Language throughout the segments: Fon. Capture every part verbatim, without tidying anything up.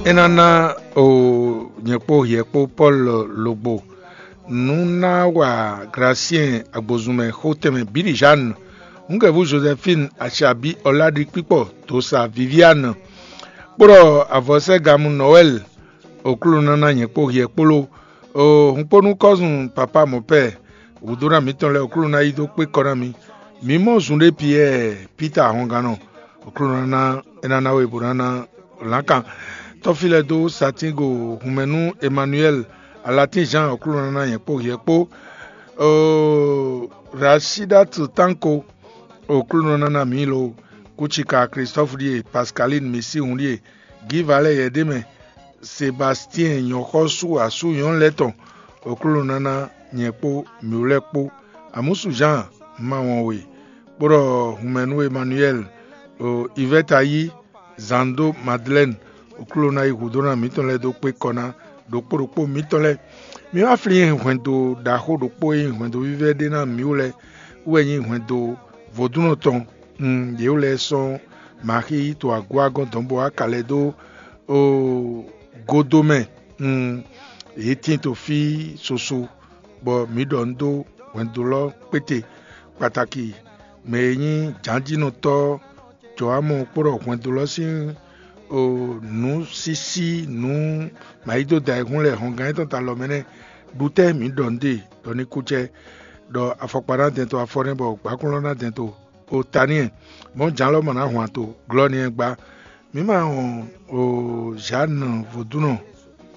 É ná ná o nyɛ kpó hiɛ kpó Pɔ́lu logbo nú ná wa Glasiɛn agbozunmɛ xó tɛnmɛ bǐ ɖi Žanu, Hungɛvu Jozɛfín, acabí Ɔládikpíkpɔ, dosa Viviánu, kpó ɖɔ avɔsɛ́gamu Nɔwɛ́li. Oklúnɔ ná ná nyɛ kpó hiɛ kpó ló. O hun kpó nú kɔ́zun papá mɔ̌pɛ́, wǔdó ná mǐtɔn lɛ́ɛ Oklúnɔ ná yí dó kpé kɔ ná mi. Mǐ mɔ zun ɖé Piyɛ́ɛ, Pita ahɔngannɔ, Oklúnɔ ná é ná ná we bó ná ná lǎnkan. Tɔ́fí lɛ́ɛ dó satín go hunmɛ nú Emanuwɛ́li, Alatín Zan, Oklúnɔ ná ná nyɛ kpó hiɛ kpó. Oo, Rasídatu Tánko, Oklúnɔ ná ná mǐ lo. Kúcika Klistɔ́fu ɖíe, Paskalín Misíhun ɖíe, Gívalɛ́ Yɛ̌démɛ, Sebastiɛn nyɔ̌xɔ́sú asú nyɔ̌nu lɛ́ɛ tɔn, Oklúnɔ ná ná nyɛ kpó mǐ lɛ́ɛ kpó. Amúsu Zan, ma wɔn we, kpó ɖɔ hunmɛ nú Emanuwɛ́li, o Ivɛ́ta yí, Zando Madlɛ́ni, Oklúnɔ ná yí hudó ná mǐtɔn lɛ́ɛ dó kpé kɔ ná ɖokpó ɖokpó mǐtɔn lɛ́ɛ. Mi wá flín hwɛndo ɖaxó ɖokpó e nyí hwɛndo vívɛ́ ɖé ná mǐ wú lɛ́ɛ wú wɛ nyí hwɛndo vodúnnɔ tɔn. Un, yě wú lɛ́ɛ sɔ́ Maxíi yi to agó agɔ́n dɔ̌n bó wá ka lɛ́ dó godo mɛ. Un, yě tín to fí soso, bɔ mǐ ɖɔ nǔ dó hwɛndo lɔ kpéte, kpataki mɛ e nyí jǎnjínɔtɔ́ Jɔámu kpó ɖɔ hwɛndo lɔ sín nǔsísí nǔ mayídóda e hun lɛ hɔngán yětɔn ta lɔ mɛ nɛ́. Ɖu tɛ́ mǐ ɖɔ nǔ ɖe ɖɔ ní kú cɛ, ɖɔ afɔkpa ná dɛn to afɔ nɛ́, bɔ gbǎkún lɔ ná dɛn to o ta n'i, mɔ̌ jǎn lɔ mɔ nǎ hwan to glɔ́ n'i gbá. Mǐ ma wɔn o Zǎnu vodúnɔ,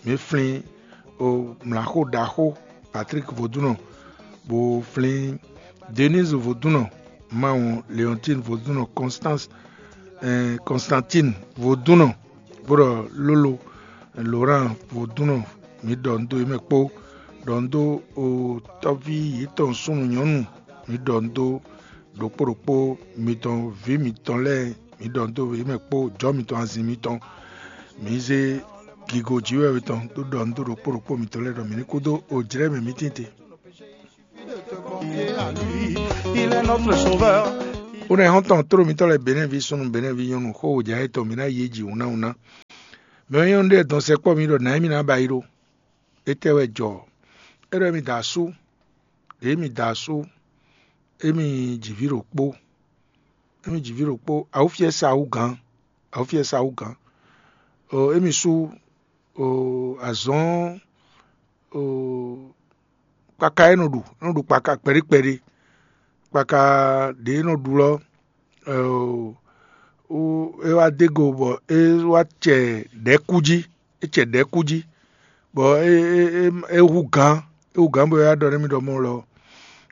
mǐ flín o mlǎxó ɖaxó Patrík vodúnɔ, bó flín Denise vodúnɔ, ma wɔn Leontín vodúnɔ, Constance, Constantine vodúnɔ, bó ɖɔ Lólo, Lorán vodúnɔ, mǐ ɖɔ nǔ dó yě mɛ kpó, ɖɔ nǔ dó o tɔ́ví yětɔn súnnu nyɔ̌nu, mǐ ɖɔ nǔ dó ɖokpó ɖokpó mitɔn, vǐ mitɔn lɛ́ɛ, mǐ ɖɔ nǔ dó yě mɛ kpó jɔ̌ mitɔn, azin mitɔn. Mǐ zé gigo jǐ wɛ mitɔn dó ɖɔ nǔ dó ɖokpó ɖokpó mitɔn lɛ́ɛ ɖɔ mǐ ní kú dó ojlɛ́ mɛ mǐ tinte. Ó nɛ́ xɔ́ntɔn tló mitɔ́ lɛ́ɛ Benɛ́vi súnnu, Benɛ́vi nyɔ́nu, xó wǒjǎ yětɔn mǐ ná yí jǐ wúnáwúná. Mɛ e nyɔ́nu ɖé dɔn sɛkpɔ́ mì ɖɔ nǎ émí ná ba yi ɖó. Étɛ́ wɛ jɔ? É ɖɔ émí da asú, ɖě émí da asú, émí ji vǐ ɖokpó, émí ji vǐ ɖokpó, awúfiɛ́sa wú gǎn, awúfiɛ́sa wú gǎn. O émí sú o azɔ̌n o kpaka é nɔ ɖu, é nɔ ɖu kpaka kpɛɖé kpɛɖé, kpaka ɖě é nɔ ɖu lɔ, o é wá dó go bɔ é wá cɛ ɖɛ̌kú jí, é cɛ ɖɛ̌kú jí, bɔ é é é é hú gǎn, é hú gǎn bɔ é wá ɖɔ nú mì ɖɔ mɔ lɔ,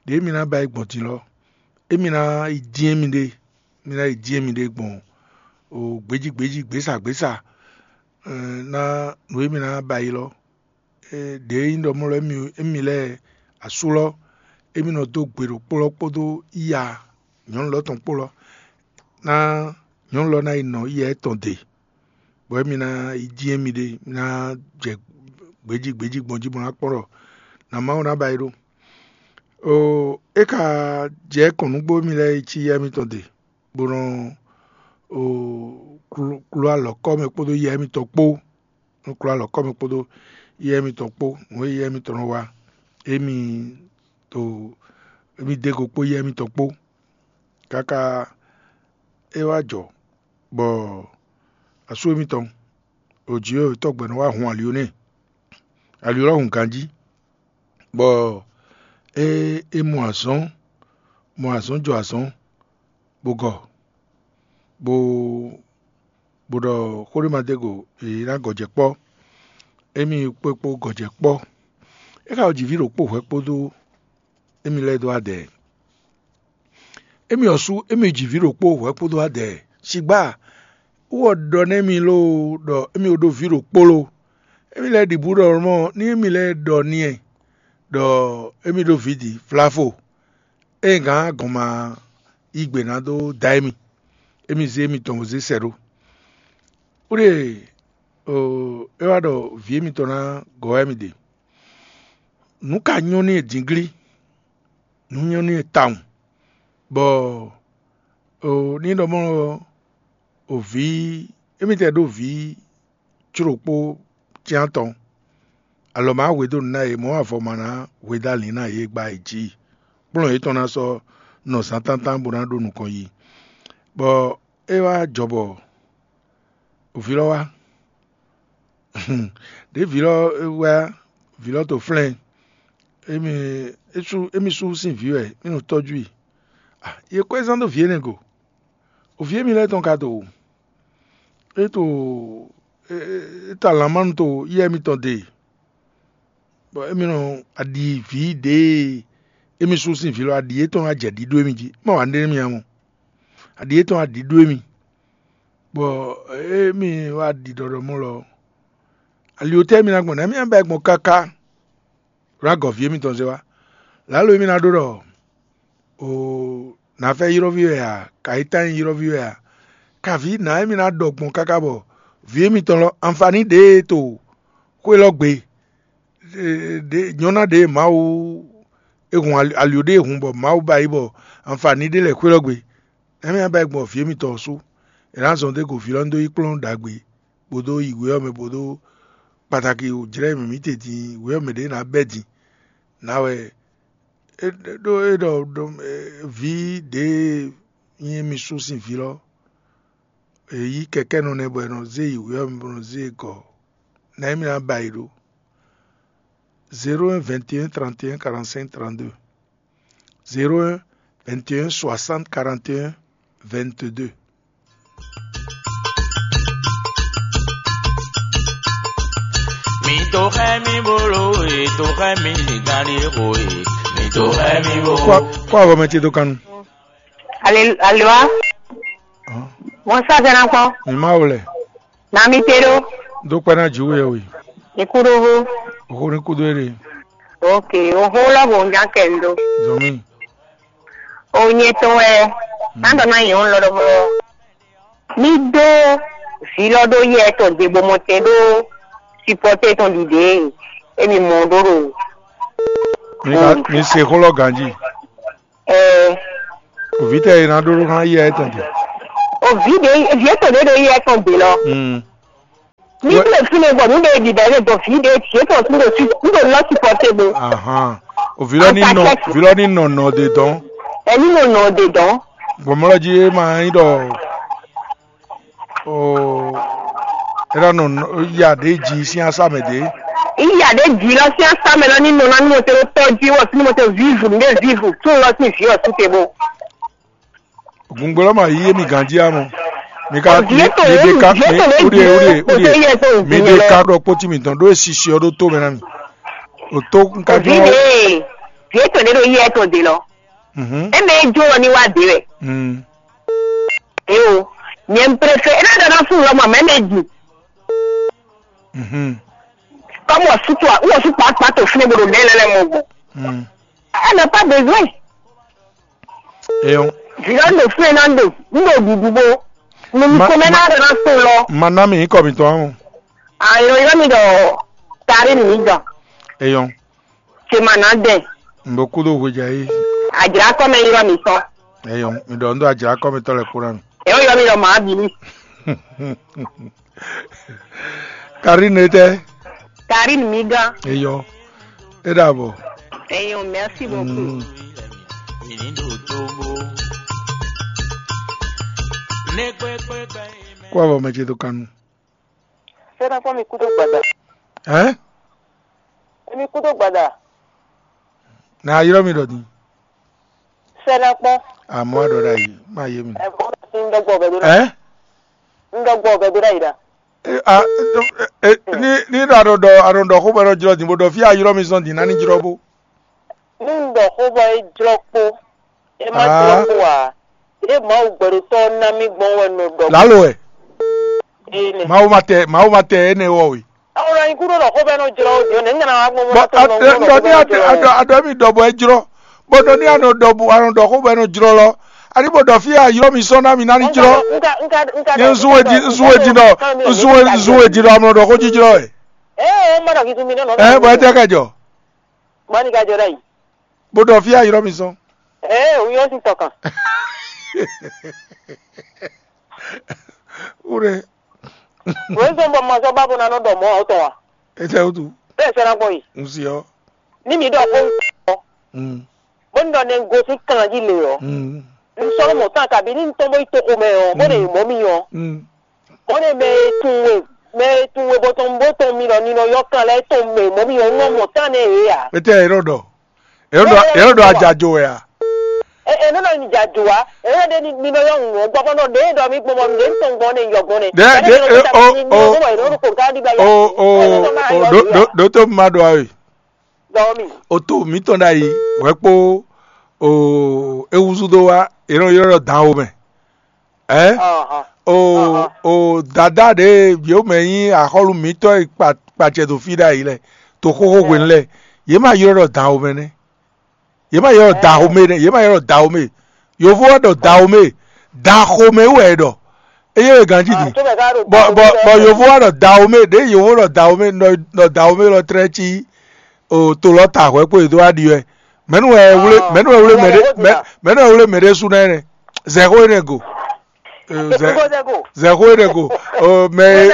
ɖěe mi ná ba yi gbɔn din lɔ, émi ná yi dín émi ɖe, mi ná yi dín émi ɖe gbɔn o gbějí gbějí, gběsa gběsa, ná nǔ e mi ná ba yi lɔ. Ɖě nyí ɖɔ mɔ lɔ émi lɛ́ɛ asú lɔ, émi nɔ dó gbe ɖokpó lɔ kpódó iya nyɔ̌nu lɔ tɔn kpó lɔ, ná nyɔ̌nu lɔ ná yi nɔ iya étɔn de, bɔ émi ná yi dín émi ɖe, mi ná jɛ gbějí gbějí gbɔn jí bó ná kpɔ́n ɖɔ nǎ Mawu ná ba yi ɖó. Oo, é ka jɛ kɔn nǔgbó émi lɛ́ɛ yi cí yá émítɔn de, bó nɔ oo klú alɔ̌kɔ mɛ kpódó yá émítɔn kpó, nɔ klú alɔ̌kɔ mɛ kpódó yá émítɔn kpó, nǔ e yá émítɔn nɔ wa, émi to émi dó go kpó yá émítɔn kpó, káká é wá jɔ bɔ asú émítɔn ɖo jǐ e tɔ́gbɛ nɔ wá hun ali ɔ́ n'i. Ali ɔ́ hun ganjí, bɔ é é mɔ azɔ̌n, mɔ azɔ̌n jɔ azɔ̌n, bó gɔ, bó bó ɖɔ xó ɖé ma dó go, è ná gɔ̌ jɛ kpɔ́. Émi kpó kpó gɔ̌ jɛ kpɔ́. É ka ji vǐ ɖokpó hwɛ̌ kpódó émi lɛ́ɛ dó adɛ. Émi ɔ́ sú émi ji vǐ ɖokpó hwɛ̌ kpódó adɛ. Sigbá wú ɔ ɖɔ nú émi lóo ɖɔ émi ɖó vǐ ɖokpó lo. Émi lɛ́ɛ ɖi bǔ ɖɔ mɔ ní émi lɛ́ɛ ɖɔ n'i ɖɔ émi ɖó vǐ din, flafo. Ényí gǎn gɔn ma yí gbe ná dó da émi, émi zé émitɔn bó zé sɛ ɖó. Wúɖe é wá ɖɔ vǐ émitɔn ná gɔ́ wá émi ɖe. Nǔ ka nyɔ́ n'i dǐnglí? Nǔ nyɔ́ n'i tawun, bɔ ní ɖɔ mɔ̌ ɔ́, vǐ émítɛ́ ɖó vǐ có ɖokpó cyán tɔn. Alɔ ma hwedó nǔ ná yě, mɔ̌ avɔ ma ná hwedó alǐn ná yě gba yě jí. Kplɔ́n yětɔn ná sɔ́ nɔ zǎntántán bó ná ɖó nukɔn yi. Bɔ é wá jɔ bɔ vǐ lɔ wá. Ɖěe vǐ lɔ wá, vǐ lɔ to flɛ́n, émi é sú émi sú sín vǐ wɛ, mí nɔ tɔ́jú i. Ah, yě kɔ́ ɛ zán dó vǐ énɛ́ go. O vǐ émi lɛ́ɛ tɔn ka to, é to é é- é ta lanmánu to yɛ mitɔn de, bɔ émi nɔ aɖi vǐ ɖěe émi sú sín vǐ lɔ aɖi yětɔn wá jɛ ɖiɖó émi jí. Má wǎ ɖé nú mi ǎ mɔ. Aɖi yětɔn wá ɖiɖó émi, bɔ émi wá ɖi ɖɔɖɔ mɔ lɔ, ali ɔ́ tɛ́ émi ná gbɔn nɛ̌? Émi ná bɛ́ gbɔn káká. Ɖó agɔ̌ vǐ émitɔn zé wá. Lǎlo émi ná ɖó ɖɔ o nǎ fɛ́ ylɔ́ví wɛ a, kayítán nyí ylɔ́ví wɛ a? Kaví nǎ émi ná ɖɔ gbɔn káká bɔ vǐ émitɔn lɔ anfaní ɖě e to xwé lɔ gbe, ɖě nyɔ́ná ɖě e Mawu e hun ali- ali ɖě e hun bɔ Mawu ba yi bɔ anfaní ɖé lɛ́ xwé lɔ gbe. Nɛ̌ mì ná ba yi gbɔn vǐ émitɔn ɔ́ sú? È nǎ zɔn dó e go vǐ lɔ ní dó yi kplɔ́n ɖagbe, bó dó yi wě ɔ́ mɛ, bó dó kpatakí wǔjlɛ́ mǐ mǐtɛn din wě ɔ́ mɛ ɖě ná bɛ́ din. Nǎ wɛ é ɖó é ɖɔ ɖɔ vǐ ɖě nyí émi sú sín vǐ lɔ, è yí kɛkɛ́nɔ nɛ́ bɔ è nɔ zé yi wě ɔ́ mɛ bó nɔ zé e gɔ̌. Nɛ̌ mì ná ba yi ɖó? Zéro un vingt et un trente et un quarante-cinq trente-deux. Zéro un vingt et un soixante quarante et un vingt-deux. Mi to xɛ mi bolo e to xɛ mi gani xo e mi to xɛ mi bo. Kó àbọ̀ mɛ ce dó kánú. Aleluya. Mɔsa fɛnɛ kpɔ. Mi ma wlɛ. Na mi te ɖo. Dó kpɛ ná jǐ wɛ we. Ikú ɖó hó. Òhó ní kúdó é ɖe. Ok, òhó lɔ bò ń já kɛ ń ɖó. Zɔmí. O nyɛ tɔn wɛ. Má ɖɔ ná yɛn lɔ ɖɔmɔ. Mi dó vǐ lɔ ɖó yɛ tɔn dě bó mɔ tɛn ɖó supporter tɔn ɖiɖe. Emi mɔ ɖó ɖo. Mi ka mi se xó lɔ ganjí. Ɛɛ. Òvítɛ e ná ɖó ná yɛ étɔn din. Òví ɖe vǐ étɔn ɖé ɖo yɛ tɔn din lɔ. Mm. Ní Wɛ- ɖo fínɛ́ gbɔ nú ɖe ɖiɖa ɖe gbɔ vǐ ɖe vǐ étɔn tún ɖo sí nú ɖo lɔ supporter bo. Ahan. Òví lɔ ní nɔ Ata kɛ́- òví lɔ ní nɔ nɔ de dɔn. Ɛni nɔ nɔ de dɔn. Gbɔmɔlɔ jí é ma nyí ɖɔ o é ná nɔ nɔ- ya ɖě jí sín asá mɛ ɖě. Iya ɖe dzi lɔ sín asá mɛ lɔ ní nɔ ná nú mɔtɛ ɖó tɔ́ jí wɔ sínú mɔtɛ vivu nú ɖe vivu tún lɔ sín vǐ ɔ́ sú te bo. Gungbe lɔ ma yí émi ganjí amɔ. Mi ka Vǐ mi étɔn mi ɖe lé ka vǐ mi étɔn lé wúɖiɛ wúɖiɛ wúɖiɛ. Yɛ tó Mi ɖe ka ɖɔ kpótí mitɔn ɖó esisi ɔ́ ɖó tó mɛ ná mi. O tó un ka Vǐ jɔ. Ɖe vǐ étɔn ɖe ɖo yɛ tɔn ɖe lɔ. Mhm. Eme é jó ɔ ní wá ɖe wɛ. Mm. Eo, nyɛ un préfère ena ɖɔ ná fún lɔ mɔ mɛ mɛ ɖi. Mhm. Comme wɔ sú tó wɔ sú kpakpa tó fún bolo ɖe lɛ lɛ mɔ gbɔ. Mm. Elle n'a pas besoin. Eyɔn. Vila ndo fún ena ndo ndo ɖuɖu bo. Mo mi Ma- kɔmɛ ma- ná ɖɔ ná fún lɔ. Ma ná mi nyǐkɔ mitɔn ɔ́. Ayɔ yɔ mi ɖɔ tari mi dɔ. Eyɔn. Ṣe ma ná dɛ. N bɛ kú ɖo hwedza yí. Adzra kɔmɛ yɔ mi sɔ. Eyɔn. Mi ɖɔ n ɖo adzra kɔmɛ tɔ lɛ kpó ná mi. Eyɔ yɔ mi ɖɔ maa bi mi. Karine tɛ. Karine mi gán. Eyɔ. E ɖabɔ. Eyɔ, merci beaucoup. Mm. Kó avɔ mɛ ce tó kanu. Sɛnakpɔ mi kúdó gbada. Ɛ? Emi kúdó gbada. Na yrɔ mi ɖɔ din. Sɛnakpɔ. Amɔ aɖɔ ɖa yi ma ye mi. Ɛ bɔ n dɔgbɔ bɛ do ɖa. Ɛ? N dɔgbɔ bɛ do ɖa yi ɖa. E, a, e, e, ni ni ɖɔ aɖɔ ɖɔ aɖɔ ɖɔ xó bɛ ɖɔ jlɔ din bó ɖɔ fí ayrɔ mi zɔn din nani jlɔ bó. Ní un ɖɔ xó bɔ é jlɔ́ kpó, é má jlɔ́ kpó ǎ. Ɖěe Mawu gbɛɖotɔ́ ɔ́ ná mì gbɔn wɛ un nɔ ɖɔ. Lǎlo wɛ. Énɛ́. Mawu ma tɛ Mawu ma tɛ énɛ́ wɔ we. Àwọn ọ̀rọ̀ yìí kúrò lọ́kọ́ bẹ́ẹ̀ náà jọrọ òjò ní nǹkan àwọn agbọ̀n Bɔ mọ́tò a- náà ɛ- jọrọ ŋdɔ ní lọ́kọ́ ati bẹ́ẹ̀ jọrọ. Adɔ adɔ mi dɔ bɔ ejlɔ. Bɔ dɔ ní anɔ dɔ bu anɔ dɔ xó bɔ ɛnɔ jlɔ lɔ. Ani bɔ dɔ fi a yɔ mi sɔn na mi na ni jlɔ. Nka nka nka Nye nzu wedi nzu wedi dɔ nzu wedi nzu wedi dɔ amlɔ dɔ xó jijlɔ ɛ. Ee, mmadụ gị tụmị nọ Ɛ bɔ ɛtɛ ka jɔ. Mmadụ ga jọ dai. Bó dɔ fi a yɔ mi sɔn. Ee, o yọ si tọkàn. Ure. Wězɔn bɔ ma zɔ́ ba bó ná nɔ ɖɔ mɔ̌ ɔ́ tɔn a? Etɛ́ wútu? Bẹ́ẹ̀ sɛ́ ná gbɔn yi. Un si ɔ́. Ní mi ɖɔ xó ɔ́, Mm. Bó ní ɖɔ nɛ un gosín kan jí lě ɔ́, Mm. Un sɔ́ nɔ mɔ tán kabí ní un tɔ́n bó yi toxo mɛ ɔ́, bó ɖe mɔ̌ mi ɔ́, Mm. Bó ɖe mɛ e tunwun we, mɛ e tunwun we bó tɔn bó tɔn mi ɖɔ ninɔ yɔ́ kan lɛ́ɛ tɔn mɛ mɔ̌ mi ɔ́, un nɔ mɔ tán nɛ yě ǎ. Etɛ́ e nɔ ɖɔ? E nɔ ɖɔ e nɔ ɖɔ ajajo wɛ a? Ɛ ɛ nɔ nɔ nyi jajo wa, e nɔ ɖe ni mi nɔ yɔ ŋu gbɔ bɔ nɔ ɖe ɖɔ mi gbɔn bɔ mi ɖe tɔn gbɔn ne yɔ gbɔn ne. Ɖe ɖe e o o o o o ɖo ɖo ɖo to ma ɖo awe. Dɔmi. O to mitɔn ɖ'ayǐ hwɛ kpó o e húzú dó wá e nɔ ylɔ́ ɖɔ dan o mɛ. Ɛ o o dada ɖě yě mɛ nyí axɔ́lú mǐtɔn e kpa kpacɛ ɖo fí ɖ'ayǐ lɛ to xóxó hwenu lɛ, yě ma ylɔ́ ɖɔ dan o mɛ nɛ́. Yě ma ylɔ́ ɖɔ da xomɛ nɛ́, yě ma ylɔ́ ɖɔ da xomɛ. Yovo wɛ ɖɔ da xomɛ, da xomɛ wɛ é ɖɔ. Eye wɛ ganjí din. Bɔ bɔ bɔ yovo wɛ ɖɔ da xomɛ, ɖě yovo ɖɔ da xomɛ, nɔ nɔ da xomɛ lɔ tlɛ cí o to lɔ ta hwɛ kpó yě dó wá ɖi wɛ. Mɛnu wɛ wlé mɛnu wɛ wlé mɛɖé mɛ- mɛnu wɛ wlé mɛɖé sú nɛ nɛ zɛxó nɛ go. Zɛxó nɛ go. Mɛ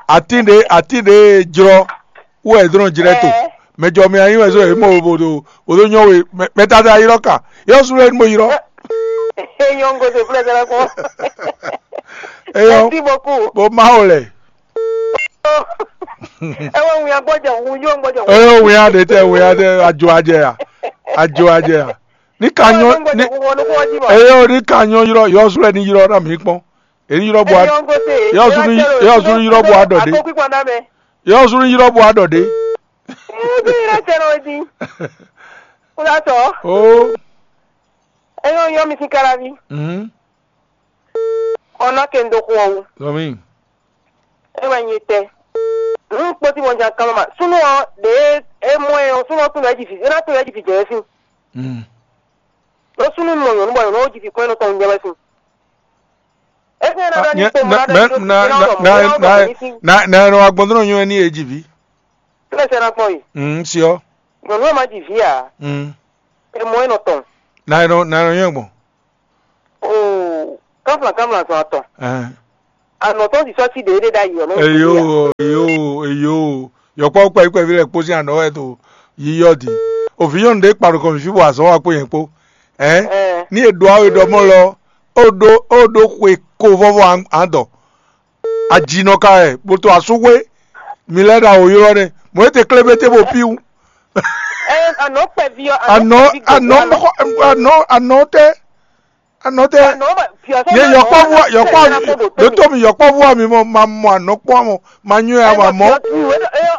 atin ɖe atin ɖe jlɔ wɛ dɔn jlɛ to. Mɛ jɔ mi anyi wɛ so e mo bo do bo do nyɔ we. Mɛ tata yi lɔ ka yɔ su lɛ mo yi lɔ. Eyɔn go de flɛ sɛlɛ kɔ. Eyɔn. Merci beaucoup. Bo ma o lɛ. Ewo ŋun ya gbɔdze ŋun yɔ gbɔdze ŋun. Eyɔn ŋun ya de tɛ ŋun ya de ajo ajɛ ya ajo ajɛ ya. Ni ka nyɔ ni eyɔn ni ka nyɔ ylɔ yɔ su lɛ ni ylɔ na mi kpɔn. Èyí ylɔ bɔ a yɔ su ni ylɔ bɔ a dɔ de. Yɔ su ni ylɔ bɔ a dɔ de. Kúlátɔ. Oo. Eyɔn yɔ mi sín káláví. Mhm. Ọ̀nà kendo xɔ o. Lọmi. E wɛ nyi tɛ. Nu kpoti mɔ jan kama ma. Sunu ɔ de e mɔ e ɔ sunu ɔ tun lɛ ji fi. E na tun lɛ ji fi jɛ fi. Mm. Lo sunu mɔ nyɔnu bɔ nyɔnu ji fi kɔn e nɔ tɔn jɛ wɛ fi. E fi na dɔ ni kpo mɔ na dɔ ni do fi na dɔ mɔ na dɔ ni fi. Na na na agbɔndɔnɔ nyɔ ni e ji vi. Tɛlɛ sɛ na kpɔn yi. Mm, siɔ. Nyɔnu e ma ji vi a. Mm. E mɔ e nɔ tɔn. Na e nɔ na e nɔ nyɔ gbɔn. Oo, kánflán kánflán zɔn atɔn. Ɛhɛn. Anɔ̌tɔn sisɔ sí ɖěɖé ɖ'ayǐ ɔ́ nɔ. Eyo, eyo, eyo. Yɔkpɔ́ kpɛví kpɛví lɛ́ɛ kpó sín anɔ̌ wɛ to yíyɔ din. Òvǐ nyɔ́nu ɖé kpa nukɔn mǐ fí bɔ azɔ̌ wa kpó nyɛ kpó. Ɛn? Ní è ɖo awe ɖɔ mɔ lɔ, ó ɖó ó ɖó xwe ko vɔ́vɔ́ an dɔ. Ajinɔ ka wɛ, bó to asúxwé, mi lɛ́ ɖo awo ylɔ́ nɛ́. Mɔ̌ é te klé bɛ́ te bo pí wú. Anɔ̌ kpɛví ɔ́, anɔ̌ anɔ̌ kpɛví gbogbo anɔ̌ anɔ̌. Anɔ̌ anɔ̌ tɛ́. Anɔtɛ. Ye yɔkpɔvu yɔkpɔvu ɖo to mi yɔkpɔvu mi mɔ ma mɔ anɔkpɔ mɔ ma nyɔ ya ma mɔ.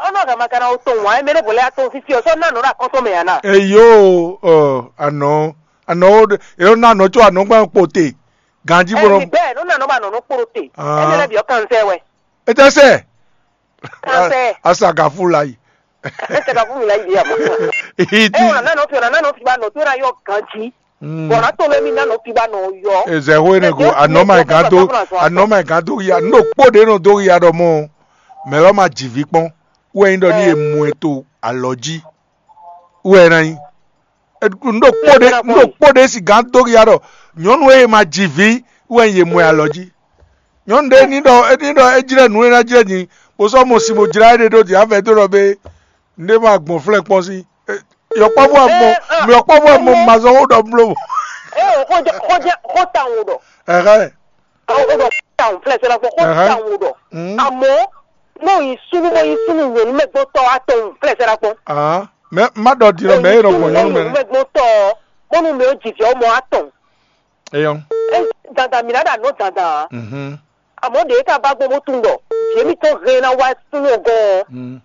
Ɔnɔ gama kana o tɔn wa mɛ ne bɔlɛ atɔn sisi ɔsɔ na nɔ ɖe akɔntɔ mɛ yana. Eyo ɔ anɔ anɔ wo ɖe eyo na anɔ tso anɔgba kpo te ganji bɔ. Ɛmi bɛɛ nɔ na nɔ ba nɔ nɔ kporo te ɛmɛ lɛ bi ɔ kan sɛ wɛ. Etɛ sɛ. Kan sɛ. Asa gafu la yi. Ese ka fún mi la yi di ama. Iti. E wala nanu fi wala nanu fi ba nɔ to na yɔ ganji. Bɔn na to lɛ mi nanu fi ba nɔ yɔ. Ezɛ ho ene go anɔ ma gan do anɔ ma gan do ya no kpo de no do ya dɔ mɔ. Mɛ lɔ ma ji vi kpɔn. Wɛ nyi dɔ ni ye mu e to alɔ ji. Wɛ na nyi. Un ɖo kpó ɖé un ɖo kpó ɖé si gǎn dó ya ɖɔ nyɔ̌nu e ma ji vǐ wɛ nyí yě mɔ ɛ alɔ jí. Nyɔ̌nu ɖé ní ɖɔ ní ɖɔ é jlɛ́ nǔ e ná jlɛ́ din bó sɔ́ mɔ sin bó jlá éɖée ɖó dǐ avɛ dó ɖɔ bé un ɖé ma gbɔn flɛ́ kpɔ́n sí. Yɔkpɔ́vú amɔ yɔkpɔ́vú amɔ ma zɔn ó ɖɔ bló. Ee, xó jɛ xó jɛ xó tawun ɖɔ. Ɛhɛn. Awo ɖɔ tawun flɛ sɛ lɔkɔ xó tawun ɖɔ. Amɔ n'o yi sunu bɔ yi sunu nyɔnu mɛ gbɔ tɔ atɔn flɛ sɛ lɔkɔ. Mɛ má ɖɔ di lɔ mɛ e nɔ gbɔn nyɔnu mɛ. Mɛ gbɔ tɔ bɔnu mɛ o jijɔ mɔ atɔn. Eyɔn. Dada mi na ɖa nɔ dada. Amɔ ɖe ka ba gbɔ bó tun ɖɔ yemi tɔn hɛn na wa sunu gɔn.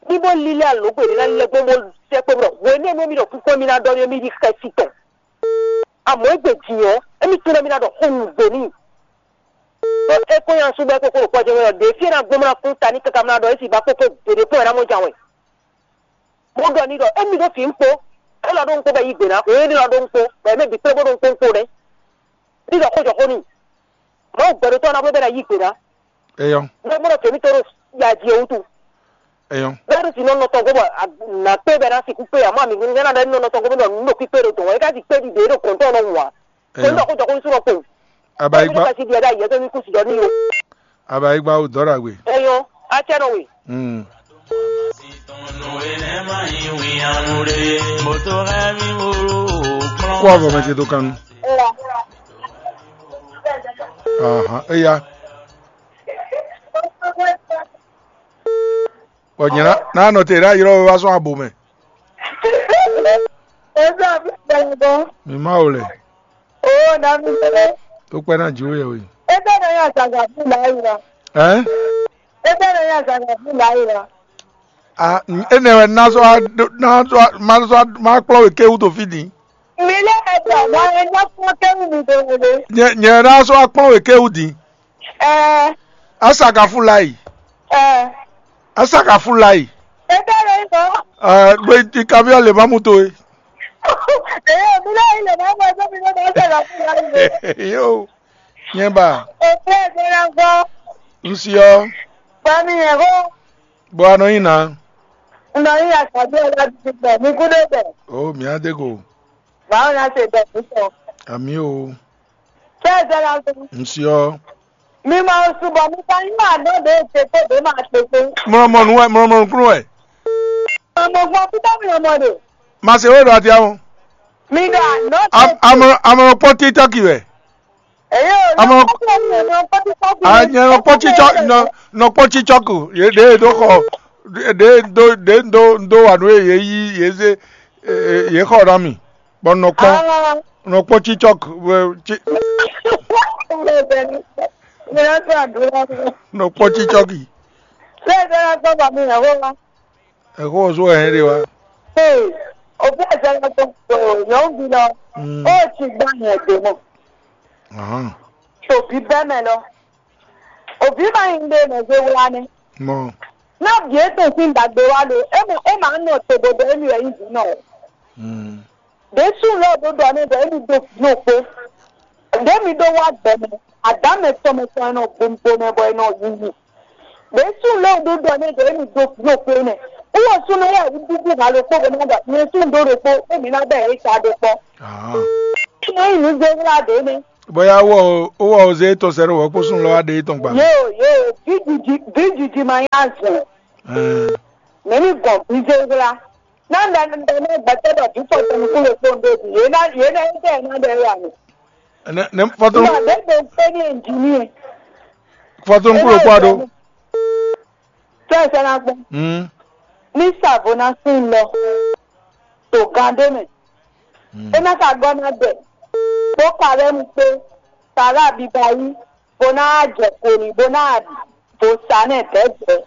Bí bó lílé alǒgbé ɖé ná lɛ́ gbɔn bó sɛkpé bɔ hwenɛ́nu mi ɖɔ kúkú mi ná ɖɔ nú mì ɖi xɛsi tɔn. Amɔ̌ égbé din ɔ́, émí tunwun ɖɔ mì ná ɖɔ xó nǔgbó n'i. Ɖó é kó nyi asú bɔ é kó kó ɖo kpɔ́ jɛ́n wɛ ɔ́, ɖě fí é ná gbɔn bó ná kún ta n'i káká bó ná ɖɔ é sì ba kpókpó gbeɖé kpɔ́n wɛ ná mɔ jǎwe. Bó ɖɔ n'i ɖɔ émí ɖó fǐ ŋkpó, élɔ́ ɖó ŋkpó bɔ é yí gbě ná, hwě énɛ́ lɔ ɖó ŋkpó, bɔ é mɛ bǐ kplé bó ɖó ŋkpó ŋkpó nɛ́. Ní ɖɔ xó jɔ xó n'i. Mawu gbɛɖotɔ́ ɔ́ ná bló bɔ é ná yí gbě ná. Eyɔn. Bɔ é mɔ ɖɔ jěmítɔ́ ɖo ya jí é wútu. Eyɔn. Bɛ́ ɖo sinɔ nɔ tɔn gɔ́ bɔ nǎ kpé bɔ é ná sixú kpé ǎ, mɔ amǐgúnjɛ ná ɖɔ é nɔ nɔ tɔn gɔ́ bɔ nǔ ɖo kpíkpé ɖo dɔn wɛ, é ka ji kpé ɖiɖe ɖo kɔ̌ntɔn nɔ wǎ. Tó ní ɖɔ xó jɔ xó ní sú nɔ kpo. Abayigba. Ká sí ɖiɖe ɖ'ayǐ ɔ́ tó ní kú si ɖɔ n'i ó. Abaigba wú dɔ̌ ɖagbe. Eyo, atɛnɔwe. Mm. Kó avɔ mɛ ce dó kan nu. Ahan, eya. Bɔ nyɛ ná ná nɔ te ɖo ayǐ lɔ wá sɔ́ abo mɛ. Eza mi gbɛlɛgbɔ. Mi ma wo lɛ. Oo, na mi gbɛlɛ. Tó kpɛ́ ná jǐ wé yɛ wé. Eza na ya zaga fún la yi la. Ɛn? Eza na ya zaga fún la yi la. A, énɛ́ wɛ ná sɔ́ wá ɖó- ná sɔ́ wá- má sɔ́ wá- má kplɔ́n we kéwú to fí din. Mi lé ɛgbɛ mɔ ɛ nyɔ fún kéwú mi do wele. Nyɛ nyɛ ná sɔ́ wá kplɔ́n we kéwú din. Ɛɛ. Asakafulayi. Ɛɛ. Asakafulayi. Ebe lɛ yi mɔ. Ɛɛ, gbe ti kabiɔ le mamu to ye. Eye mi lɛ yi le mamu ɛgbɛ mi lɛ ma asakafulayi le. Yo, nyɛ ba. Ofe ɛgbɛ na gbɔ. N si ɔ. Ba mi yɛ ko. Bɔ a nɔ nyi na. N nɔ nyi asabi ɔlá ti gbɛ mi kú dé gbɛ. O mi á dé ko. Báwo la ṣe bẹ̀ fún sọ? Àmì o. Ṣé ẹ jẹ́ lásán? N ṣe ọ́. Mi máa ń súnbọ̀ mi ká yín máa dán dé ṣe tó dé máa ṣe pé. Mọ̀rọ̀mọ̀nù ẹ̀ mọ̀rọ̀mọ̀nù kúrò ẹ̀. Ọmọ fún ọtí tábìlì ọmọ rẹ̀. Màá ṣe wéèrè àti àwọn. Mi dà náà ṣe. Àmọ̀ràn pọ́n tí tọ́kì rẹ̀. Èyí ò ní Àmọ́- ọkọ̀ mi ò ní ọkọ̀ tí tọ́kì rẹ̀. Àyẹ̀rọ̀ pọ́n tí tọ́kì nọ pọ́n tí tọ́kì. Yé dé dó xɔ dé dó dé dó dó wà nú yé yí yé zé yé xɔ ná mi. Bɔ nɔ kpɔn nɔ kpɔn tsitsɔk wɛ tsi nɔ kpɔn tsitsɔki. Ɛxɔ ɔ́ zó wɛ hɛn ɖe wá. Ee, òbí ɛ̀jẹ̀ lɔ tó tó nyɔ̌nuví lɔ, Mm. ó ti gbá nyɛ dě mɔ. Ahán. Tòbí bɛ́ mɛ lɔ. Òbí ma nyí ɖe mɛ zé wlá nɛ́. Mɔ. Ná bǐ é tɔn sín ɖagbe wá lo, é mɔ é ma nɔ te bo ɖɔ émí wɛ nyí vǐ nɔ o. Mm. Ɖě súnnu lɛ́ɛ ɖó ɖɔ nɛ́ ɖɔ émí ɖó vǐ nɔ kpó. Ɖě mi ɖó wá gbɛ mɛ, adǎ mɛ tɔn mɛ tɔn e nɔ gbomgbó mɛ bɔ è nɔ yiyi. Ɖě súnnu lɛ́ɛ ɖó ɖɔ nɛ́ ɖɔ émí ɖó vǐ nɔ kpó nɛ́. Wúwo súnnu lɛ́ɛ wú dúdú hǎ ɖokpó bɔ ná ɖɔ nyɛ súnnu ɖó ɖokpó, émí ná bɛ yě ta ɖo kpɔ́. Ah. Súnnu nyí nǔ zé wlá ɖě nɛ́. Bóyá wɔ ó wɔ ó zé tɔn sɛ́ ɖó wɔ kpó súnnu lɔ wá ɖe tɔn gba. Yóò yóò, vǐ jiji vǐ jiji ma nyí azɔn. Ɛɛ. Mɛ̌ ní gɔn vǐ zé wlá? Ná ɖe ɖe ná gbɛtɔ́ ɖɔ vǐ fɔ tɔn nukún ɖokpó ɖó bǐ. Yě ná yě ná yí tɛ ná ɖe wá mi. Ɛnɛ nɛ fɔtɔn Nɔ ɖě ɖo pé ní ɛnjìníɛ. Fɔtɔn kúrò kpɔ ɖó. Tɛ sɛ ná gbɔn. Hmm. Ní sàbò ná sín lɔ. Tó gán ɖé mɛ. Hmm. É ná ka gɔ́ ná dɛ. Bó ka lɛ́ mu kpé. Sàrà bíbá yí. Bó ná jɛ koni bó ná bó sa nɛ dɛ̌dɛ̌.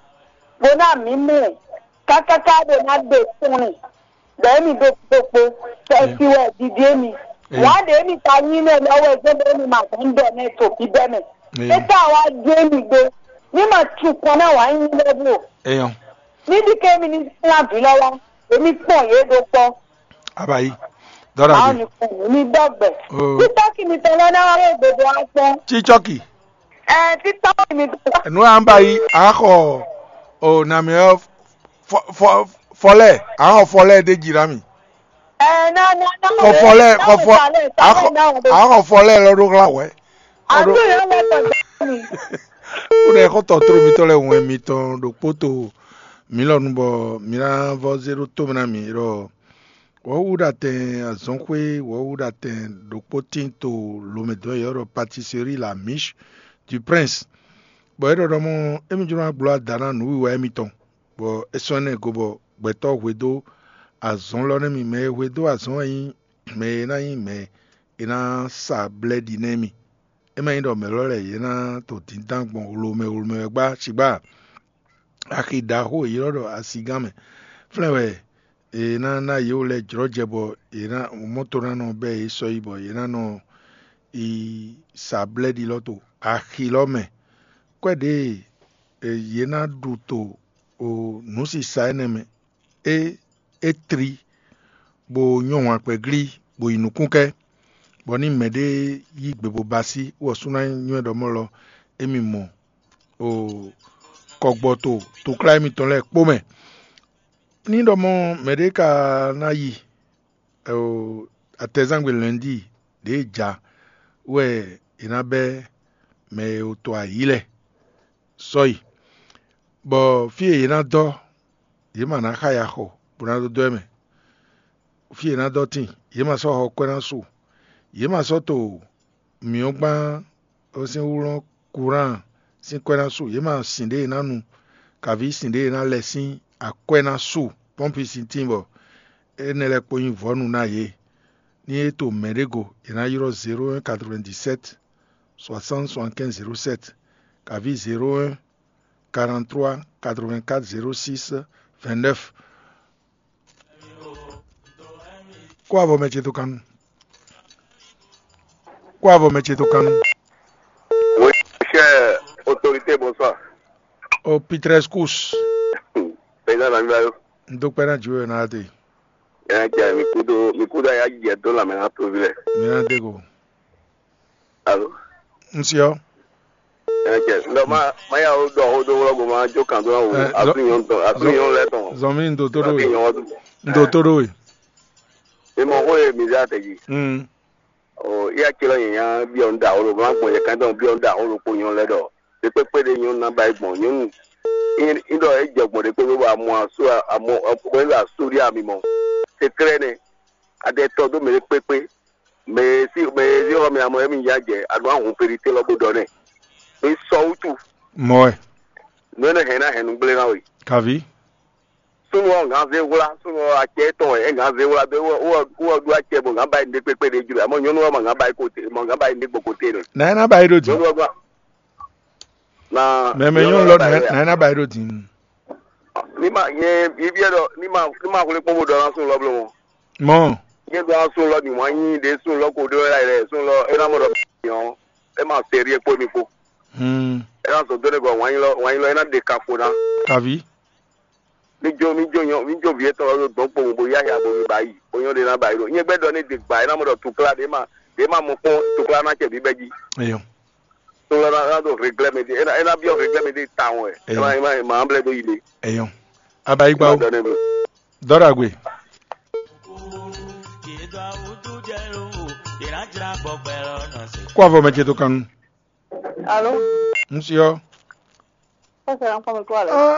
Bó ná mǐ mɛ. Kákáká bó ná ɖe tɔ́n. Ɖɔ émí ɖó kpókpó, tɛ́sí wɛ Didi émí. Wǎ ɖe émí ka nyí nɛ lɔ wɛ gbé bɔ émí ma hɛn ɖɔ nɛ to bíbɛ́ mɛ. É ka wá jó émí ɖó. Ní ma tún kɔn ná wǎ nyí lɛ́ blo. Eyɔn. Ní ɖi ké émí ní sín vǐ lɔ wá, èmi kpɔn yě ɖó kpɔ́. Abayi. Dɔla Báwo bi. Ni kpɔn mí ní dɔgbɛ? Oh. Títọ́ kí mi tán lọ́nà wá yóò gbogbo wá pọ́n. Tsitsɔki. Ẹ títọ́ kí mi tán. Enu an ba yi axɔ o nami ɔ fɔ fɔ fɔlɛ axɔ fɔlɛ de dzi la mi. Ẹ na na na. Xɔ fɔlɛ xɔ fɔ axɔ axɔ fɔlɛ lɔ ɖo xla wɛ. Àbí ìyá mẹ́ta gbà mí. Ó dɛ xɔ tɔ tro mitɔ lɛ wɛn mitɔn ɖokpó to mí lɔ nu bɔ mí ná vɔ zé ɖó tó mɛ ná mí ɖɔ wɔ̌wúɖatɛn azɔ̌xwé wɔ̌wúɖatɛn ɖokpó tín to lomɛdɔn yɔ̌ ɖɔ Pâtisserie La Miche du Prince. Bɔ é ɖɔ ɖɔ mɔ émí jló ná gbló ada ná nǔwiwa émítɔn, bɔ é sɔ́ énɛ́ go bɔ gbɛtɔ́ hwedó azɔ̌ lɔ nɛ́ mì. Mɛ e hwedó azɔ̌ wɛ nyí mɛ e ná nyí mɛ e ná sa blɛ́ɖi nɛ́ mì. É ma nyí ɖɔ mɛ̌ lɔ lɛ́ɛ yě ná to dǐndán gbɔn wlomɛ wlomɛ wɛ gbá cigbá a? Axi ɖaxó e ylɔ́ ɖɔ asigán mɛ. Flɛ́n wɛ è nǎ ná yě wú lɛ́ɛ jlɔ́ jɛ bɔ yě ná mɔ́ to ná nɔ bɛ́ yě sɔ́ yi bɔ yě ná nɔ yi sa blɛ́ɖi lɔ to axi lɔ mɛ. Kwɛ́ ɖě e yě ná ɖu to nǔsisa énɛ́ mɛ é é tlí, bó nyɔ́ wǎn kpɛ́ glí, bó yi nukúnkɛ́, bɔ ní mɛɖé yí gbe bó ba sí, wɔ sú ná nywɛ́ ɖɔ mɔ́ lɔ émí mɔ o kɔgbɔ to toklá émítɔn lɛ́ɛ kpó mɛ. Ní ɖɔ mɔ mɛɖé ka ná yi o atɛzangbe lɛ̌ndí ɖě ja wɛ è nǎ bɛ́ mɛ e to ayǐ lɛ́ɛ. sɔ yi, bɔ fí e yě ná dɔ́, yě ma ná xa ya xɔ bó ná dó dɔ́ ɛ mɛ. Fí e yě ná dɔ́ tíin, yě ma sɔ́ xɔ kwɛ́ ná su. Yě ma sɔ́ to mǐ ɔ́ gbán ɔ́ sín wlɔ́n kuran sín kwɛ́ ná su. Yě ma sin ɖě e ná nu, kaví sin ɖě e ná lɛ sín akwɛ́ ná su pɔ́npi sín tíin bɔ énɛ́ lɛ́ɛ kpó nyí vɔ̌nu ná yě. Ní é to mɛ̌ ɖé go, è nǎ ylɔ́ zéro un quatre-vingt-dix-sept soixante soixante-quinze zéro sept, kaví zéro un quarante-trois quatre-vingt-quatre zéro six vingt-neuf. Kó avɔ mɛ ce tó kan nu. Kó avɔ mɛ ce tó kan nu. Oui, cher autorité, bonsoir. O Pitrescus. Président Namibayo. N dó kpɛ́ ná jǐ we ná te. Ẹ jẹ mi kudo mi kudo ya jẹ dó lamɛ na tovi lɛ. Mi ná dé go. Alo. N siɔ. Ẹ jẹ ndɔ ma ma ya o dɔ o do wlɔ go ma jo kan do na wo Ɛ, asu nyɔn tɔn asu nyɔn lɛ tɔn. Zɔn mi n dó tó ɖó Asu we. nyɔn wa du. N dó tó ɖó we. E mɔ ko ye mi za tɛ ji. Mm. O ya tsi lɔ nyanya biɔ n da o lo ma gbɔn yɛ kan dɔn biɔ n da o lo ko nyɔn lɛ dɔ. Ɖekpekpe ɖe nyɔnu na ba yi gbɔn nyɔnu. N ɖɔ e jɛ gbɔn ɖekpekpe bɔ amɔ asu amɔ ko e la asu ɖi ami mɔ. Sekrɛ nɛ. Adɛ tɔ do mɛ ɖekpekpe. Mɛ si mɛ si xɔ mi amɔ emi ya jɛ anu ahun ferite lɔ bo dɔ nɛ. Mi sɔ wutu. Mɔ wɛ. Nɔ ne hɛn na hɛn nu gblé na we. Kavi. Sunu ɔ ŋan zé wla sunu ɔ atsɛ tɔn ɛ ŋan zé wla be wɔ wɔ wɔ ɖu atsɛ bo ŋan ba yi ɖekpekpe ɖe jlo amɔ nyɔnu ɔ ma ŋan ba yi kote ma ŋan ba yi ɖekpo kote nɛ. Na ena ba yi ɖo di. Nyɔnu ɔ gba. Na Mɛ mɛ nyɔnu lɔ na ena ba yi ɖo di. Ni ma nye yi biɛ dɔ ni ma ni ma xwle kpɔn bo dɔ na sunu lɔ blo mɔ. Mɔ. Nye dɔ na sunu lɔ ni wa nyi ɖe sunu lɔ ko ɖe la yɛ sunu lɔ ena mɔ dɔ nyɔ ema seri ekpo mi kpo. Hmm. Ena sɔ do ne kɔ wa nyi lɔ wa nyi lɔ ena ɖe ka fo na. Kavi. Mi jo mi jo nyɔ mi jo vi etɔn lɔ dɔn kpowun bo ya ya bo mi ba yi bo nyɔ ɖe na ba yi ɖo nyɛ gbɛ dɔ ne de gba ena mɔ dɔ tukla ɖe ma ɖe ma mɔ kpɔn tukla na cɛ bi bɛ ji. Eyɔ. Tukla na na do reglɛ mi de ena ena biɔ reglɛ mi de ta wɛ Eyɔ. ema ema ma blɛ do yi de. Eyɔ. Abayigba o. Dɔ ne mi. Dɔragwe. Kó avɔ mɛ ce tó kan nu. Alo, N siɔ. kɔsɛ an kɔmi kó alɛ.